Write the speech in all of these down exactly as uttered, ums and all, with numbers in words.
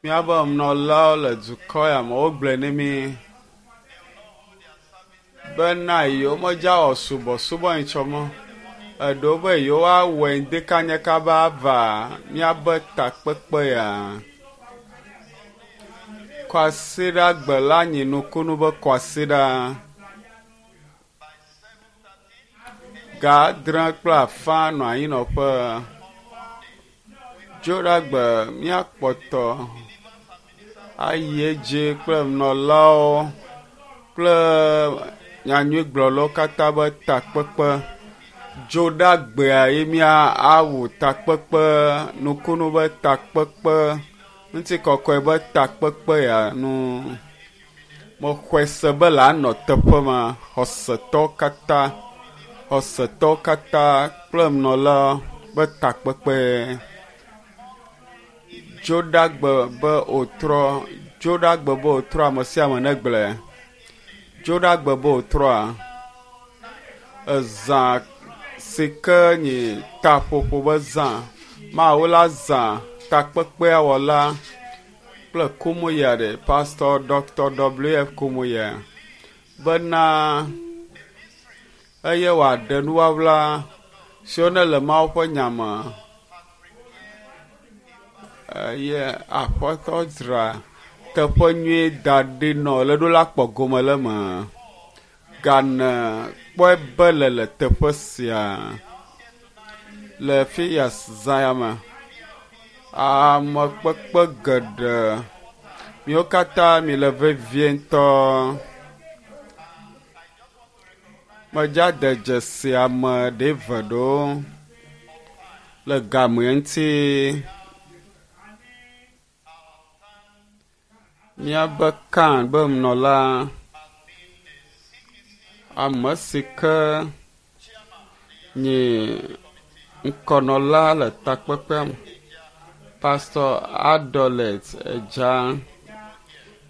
Míaƒe nunɔlawo le dukɔ ya me wogblɔe ne mí bena yewomedza wɔ subɔsubɔ nyitsɔmɔ. Eɖewo be yewoawɔe ŋdekanya kaba ava míaƒe takpekpe ya. Kwasiɖagbe la nyi nukunu be kwasiɖa. Ga adre kple afã nɔ anyinɔƒe. Dzoɖagbe míakpɔtɔ ayi edzi kple nunɔlawo kple nyanyuigblɔlawo katã be takpekpe. Dzoɖagbea ye míawu takpekpe, nukunu be takpekpe, ŋutikɔkɔe be takpekpe ya nu. Mexɔe se be la nɔ teƒe ma. Xɔsetɔwo katã, xɔsetɔwo katã kple nunɔla be takpekpe. Dzoɖagbe be wòtrɔ, dzoɖagbe be wòtrɔ ame sia ame negblɔe. Dzoɖagbe be wòtrɔa, ezã si ke nyi taƒoƒo be zã. Mawu la zã takpekpea wɔla kple Kumuya ɖe, Pastor Dr. WF Kumuya bena eye wòaɖe nuwɔwla siwo ne le Mawu ƒe nya me eye aƒetɔ dzra teƒe nyui da ɖi nɔ le ɖo la kpɔ gome le eme. Gane kpɔe be le le teƒe sia le fi ya zã ya me. Ame kpekpe geɖe miwo katã mi le vevie ŋutɔ. Medza de dzesi ame ɖe eve ɖewo le game ŋuti. Míaƒe kan be nunɔla, ame si ke nyi ŋkɔnɔla le takpekpea me, Pastor Adolet Edza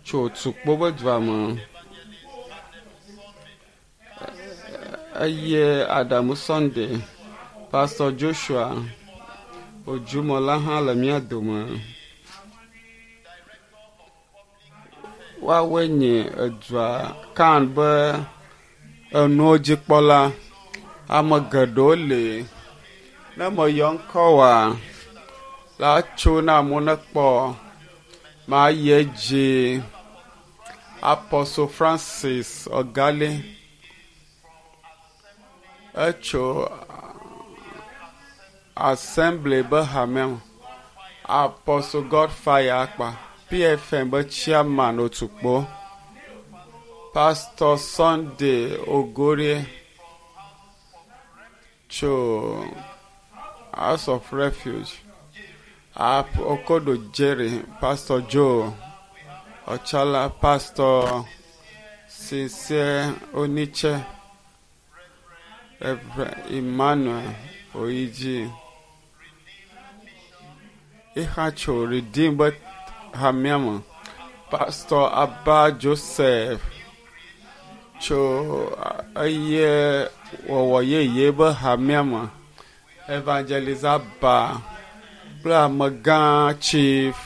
tso Tukpo be dua me eye Adamu Sunday, Pastor Joshua Ojumola hã le mía dome. Woawoe nye edua kan be enuwo dzikpɔla. Ame geɖewo li. Ne meyɔ ŋkɔ woa, la tso ne amewo nekpɔ. Mayi edzi. Apostle Francis Ogali etso Assembly be hamea me. Apostle Godfire Akpa, PFM be chairman Otukpo. Pastor Sunday Ogorie tso House of Refuge. Ap- Okodo Jerry, Pastor Joe Ochala, Pastor Sincere Oniche, Reverend Emmanuel Oiji. Ihacho Redeem be hamea me. Pastor Abba Joseph tso eye wɔwɔ yeye be hamea me. Evangelist Abba kple amegã Chief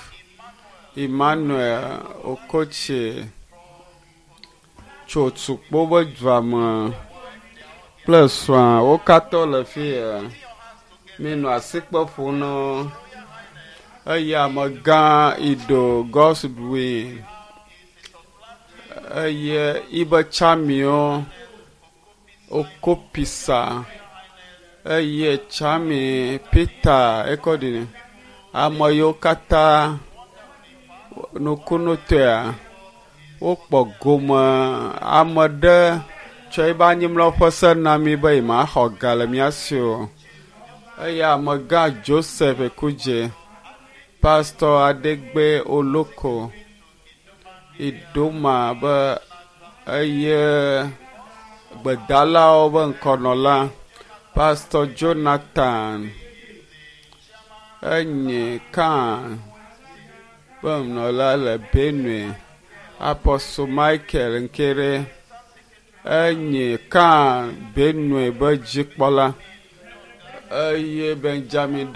Emmanuel Okoche tso Tukpo be dua me kple srɔ̃a wo katã le fi ya. Minɔ asikpe ƒom na wo. Eye amegã Ido Godswill eye ibe tsamiwo Okopisa eye tsami Peter ekɔɖi ame yiwo katã nukunutɔea wokpɔ gome ame ɖe tsɔ ebe anyimlɔƒe se na mí be yemaxɔ ga le mía si o. Eye amegã Joseph Ekudze, Pastor Adegbe Oloko, Idoma be eye gbedalawo be ŋkɔnɔla, Pastor Jonathan enye kan be nunɔla le Benue, Apostle Michael Nkere enye kan Benue be dzikpɔla eye Benjamin Dɔ